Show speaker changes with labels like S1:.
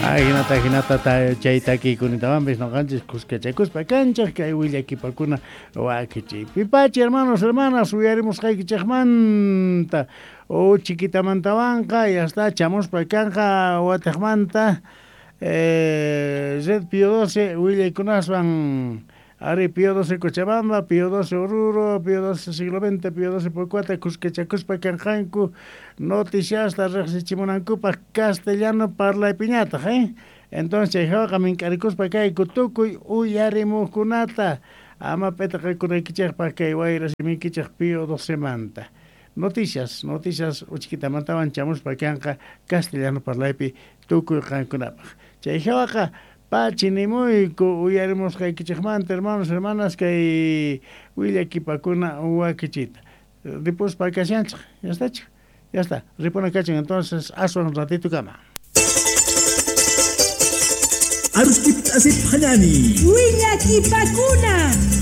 S1: Ajinata jinata chay takiykunitawanpis noqanchis kuskachakuspa kanchaq kay willakipakuna wakichiypi. Pachi hermanos, hermanas, uyarimusqaykichikmanta o chiquitamantawanqa ya está chamuspa kanqa watiqmanta Red Pío XII willaykunaswan ari Pío XII Cochabamba, Pío XII Oruro, Pío XII siglo XX, Pío XII Pocuata kuskachakuspa kanqanku noticiasta riqsichimunankupaq castellano parlaypiñataq, eh? Entonces chay hawaqa mink'arikuspa kayku tukuy uyarimuqkunata ama p'itaqakunaykichikpaq kay wayra simiykichik Pío XII manta. Noticias, noticias uchkitamantawan chamuspa kanqa castellano parlaypi tukuy qankunapaq. Chay hawaqa pachi nimuyku uyarimusqaykichikmanta hermanos, hermanas kay willakipakuna wakichita. Ripuspa kashanchik, ya está, ya está, ripuna kachin entonces aswan ratito kama.
S2: Aruskip asip hanani.
S3: Willakipakuna.